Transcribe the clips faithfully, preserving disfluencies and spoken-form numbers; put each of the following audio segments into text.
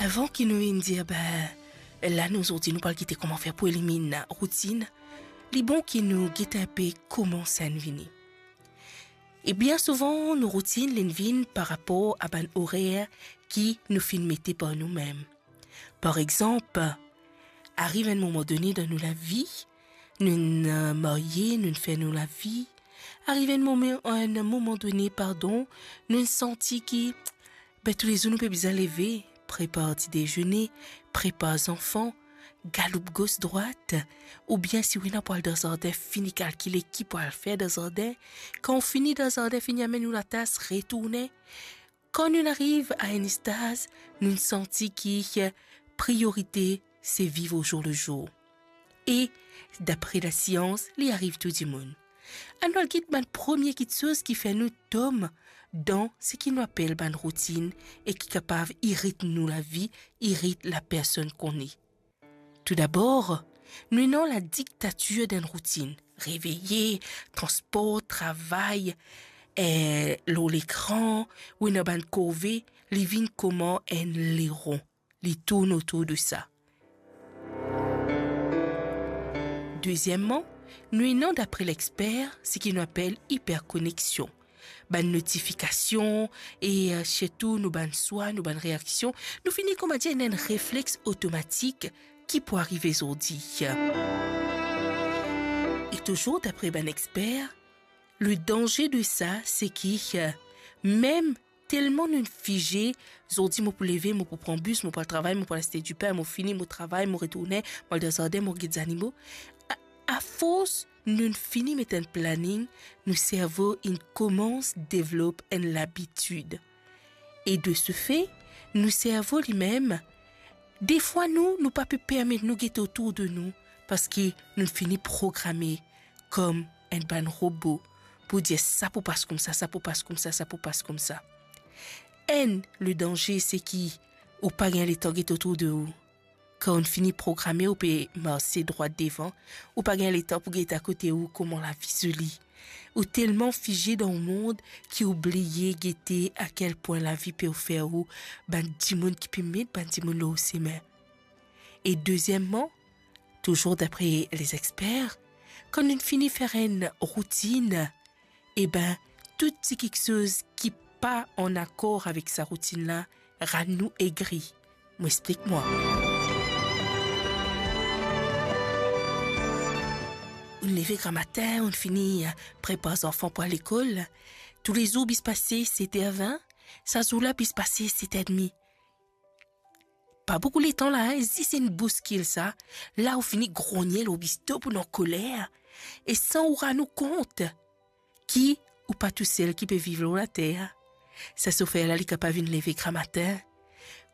Avan ki nou inn dir, be, la nou zordi nou pral gete kouma fer pou eliminn routinn, li bon ki nou gete inpe kouma sa inn vini. E bien souvan, nou routinn, li inn vinn par rapor a bann orer ki nou finn mete par noumem. Par exanp, ariv enn moman done dan nou lavi, nou inn, eh, marye, nou inn fer nou lavi. Ariv enn moman, enn moman done, pardon, nou inn santi ki, be, toulezour nou pe bizin leve, prepar ti dezene, prepar zanfan, galoup gos drwat, oubien si ou ena pou al dan zardin, fini kalkile ki pou al fer dan zardin. Kan ou fini dan zardin, fini amenn ou latas, retourne. Kan nou ariv a enn staz, nou santi ki priorite se viv au jour le jour. E dapre lasians, li ariv tou dimoun. Anou al get bann premie kiksoz ki fer nou tom dan seki nou apel bann routinn e ki kapav irit nou lavi, irit lapersonn ki nou ye. Toudabor, nou ena ladiktatir d'enn routinn. Reveye, transpor, travay, eh, lor lekran, ou ena bann korve, li vinn kouma enn leron. Li tourn otour de sa. Dezieman, nou ena, dapre lexper, seki nou apel iperkoneksion. Bann notifikasion e, eh, sirtou nou bann swa, nou bann reaksion, nou fini, kouma dir, ena enn reflex otomatik ki pou arive zordi. E touzour dapre bann exper, le danze de sa, seki, eh, mem telman nou fize, zordi mo pou leve, mo pou pran bis, mo pou al travay, mo pou al aste dipin, mo fini, mo travay, mo retourne, mo al dan zardin, mo get zanimo. A, afors nou fini met enn planning, nou servo inn koumans devlop enn labitid. E de se fe, nou servo limem, defwa nou, nou pa pe permet nou gete otour de nou, parski nou fini programe kom enn bann robo pou dir sa pou pas koumsa, sa pou pas koumsa, sa pou pas koumsa. Enn, le danze, seki ou pa gagn letan get otour de ou. Kan ou fini programe, ou pe marse drwat devan, ou pa gagn letan pou get akote ou kouma lavi zoli. Ou telman fize dan ou mond ki ou bliye gete a kel pwin lavi pe ofer ou bann dimoun ki pe met bann dimoun lor ou sime. E dezieman, touzour dapre lezexper, kan nou fini fer enn routinn, e ben, tou ti kiksoz ki pa an akor avek sa routinn la, rann nou egri. Mo explik mwa. Ou leve gramatin, ou fini, eh, prepar zanfan pou al lekol. Toulezour bis pase set er vin, sa zour la bis pase set er demi. Pa boukou letan la, hein, zis enn bouskil sa, la ou fini grogne lor bisto pou ankoler, e san ou rann ou kont ki ou pa tousel ki pe viv lor later. Sa sofer la, li kapav vinn leve gramatin.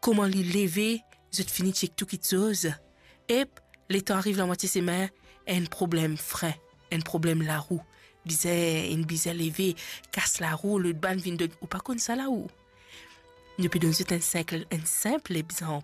Kouma li leve, zot fini chek tou kiksoz. Ep, letan ariv lamwatie semin, enn problem frin, enn problem larou. Bizin, inn bizin leve, kas larou, lot bann vinn donn, ou pa konn sa larou. Nou pe donn zot enn sinp, enn sinp legzanp.